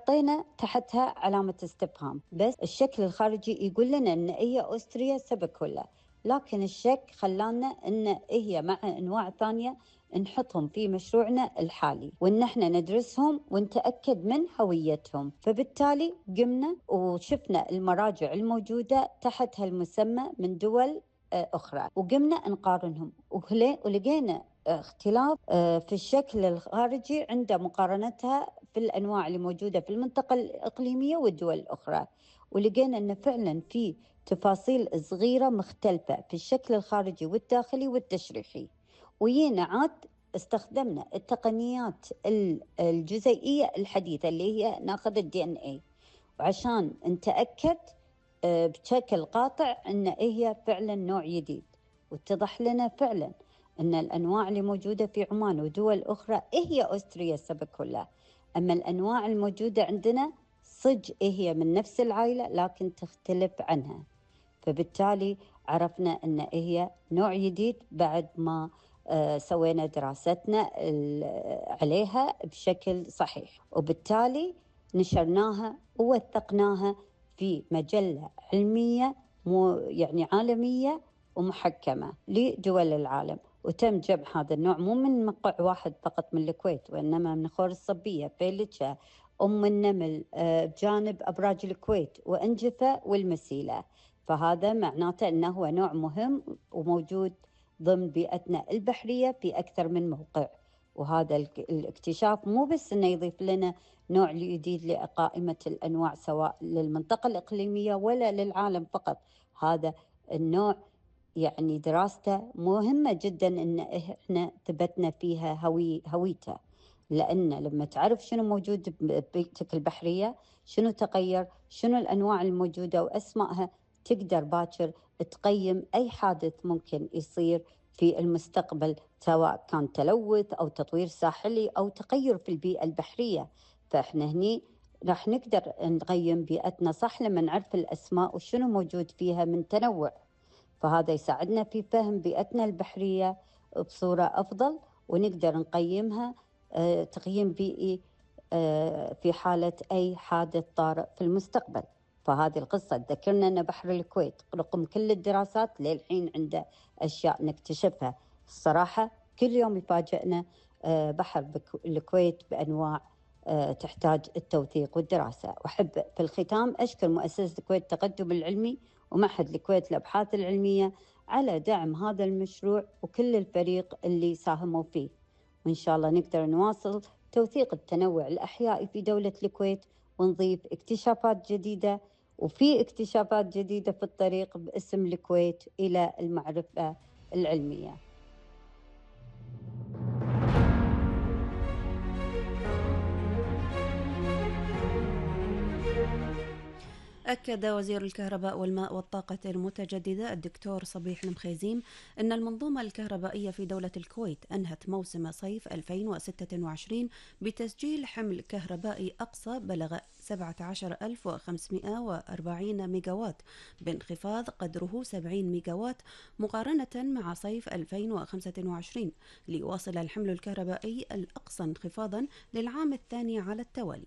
حطينا تحتها علامة استفهام، بس الشكل الخارجي يقول لنا أن هي أستريا سبكولا، لكن الشك خلانا أن هي مع أنواع ثانية نحطهم في مشروعنا الحالي، وأن احنا ندرسهم ونتأكد من هويتهم. فبالتالي قمنا وشفنا المراجع الموجودة تحت هالمسمى من دول أخرى، وقمنا نقارنهم ولقينا اختلاف في الشكل الخارجي عند مقارنتها في الأنواع اللي موجودة في المنطقة الإقليمية والدول الأخرى، ولقينا أن فعلا في تفاصيل صغيرة مختلفة في الشكل الخارجي والداخلي والتشريحي. وينا عاد استخدمنا التقنيات الجزيئية الحديثة اللي هي ناخذ DNA وعشان نتأكد بشكل قاطع أن هي فعلا نوع جديد، واتضح لنا فعلا أن الأنواع اللي موجودة في عمان ودول أخرى هي أستريا سبكولا، أما الأنواع الموجودة عندنا صج هي من نفس العائلة لكن تختلف عنها. فبالتالي عرفنا أن هي نوع جديد بعد ما سوينا دراستنا عليها بشكل صحيح، وبالتالي نشرناها ووثقناها في مجلة علمية يعني عالمية ومحكمة لدول العالم. وتم جمع هذا النوع مو من موقع واحد فقط من الكويت، وإنما من خور الصبية، فيلتشا، أم النمل، بجانب أبراج الكويت وأنجفة والمسيلة. فهذا معناته أنه هو نوع مهم وموجود ضمن بيئتنا البحرية في أكثر من موقع. وهذا الاكتشاف مو بس أنه يضيف لنا نوع جديد لقائمة الأنواع سواء للمنطقة الإقليمية ولا للعالم فقط، هذا النوع يعني دراسته مهمة جدا أن إحنا ثبتنا فيها هويته، لأن لما تعرف شنو موجود ببيئتك البحرية، شنو تغير، شنو الأنواع الموجودة وأسمائها، تقدر باكر تقيم أي حادث ممكن يصير في المستقبل، سواء كان تلوث أو تطوير ساحلي أو تغير في البيئة البحرية. فإحنا هني راح نقدر نقيم بيئتنا صح لما نعرف الأسماء وشنو موجود فيها من تنوع، فهذا يساعدنا في فهم بيئتنا البحرية بصورة أفضل، ونقدر نقيمها تقييم بيئي في حالة أي حادث طارئ في المستقبل. فهذه القصة تذكرنا أن بحر الكويت رغم كل الدراسات للحين عنده أشياء نكتشفها. الصراحة كل يوم يفاجئنا بحر الكويت بأنواع تحتاج التوثيق والدراسة. وأحب في الختام أشكر مؤسسة الكويت التقدم العلمي ومعهد الكويت للأبحاث العلمية على دعم هذا المشروع وكل الفريق اللي ساهموا فيه، وإن شاء الله نقدر نواصل توثيق التنوع الأحيائي في دولة الكويت ونضيف اكتشافات جديدة، وفي اكتشافات جديدة في الطريق باسم الكويت إلى المعرفة العلمية. أكد وزير الكهرباء والماء والطاقة المتجددة الدكتور صبيح المخيزيم أن المنظومة الكهربائية في دولة الكويت أنهت موسم صيف 2026 بتسجيل حمل كهربائي أقصى بلغ 17540 ميجاوات، بانخفاض قدره 70 ميجاوات مقارنة مع صيف 2025، ليواصل الحمل الكهربائي الأقصى انخفاضا للعام الثاني على التوالي.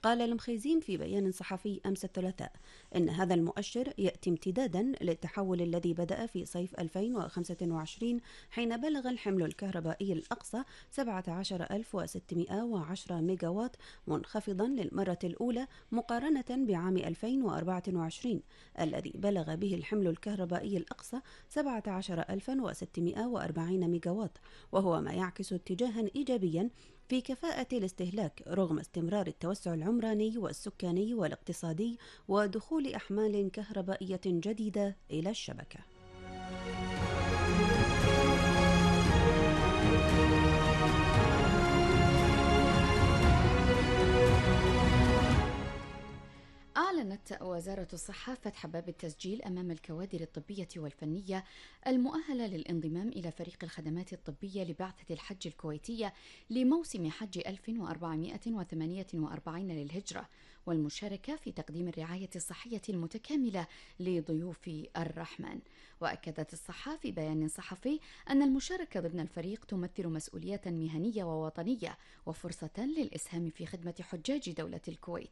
قال المخيزيم في بيان صحفي أمس الثلاثاء إن هذا المؤشر يأتي امتدادا للتحول الذي بدأ في صيف 2025 حين بلغ الحمل الكهربائي الأقصى 17610 ميجاوات، منخفضا للمرة الأولى مقارنة بعام 2024 الذي بلغ به الحمل الكهربائي الأقصى 17640 ميجاوات، وهو ما يعكس اتجاها إيجابيا في كفاءة الاستهلاك رغم استمرار التوسع العمراني والسكاني والاقتصادي ودخول أحمال كهربائية جديدة إلى الشبكة. أعلنت وزارة الصحة فتح باب التسجيل أمام الكوادر الطبية والفنية المؤهلة للانضمام إلى فريق الخدمات الطبية لبعثة الحج الكويتية لموسم حج 1448 للهجرة، والمشاركة في تقديم الرعاية الصحية المتكاملة لضيوف الرحمن. وأكدت الصحة في بيان صحفي أن المشاركة ضمن الفريق تمثل مسؤولية مهنية ووطنية وفرصة للإسهام في خدمة حجاج دولة الكويت،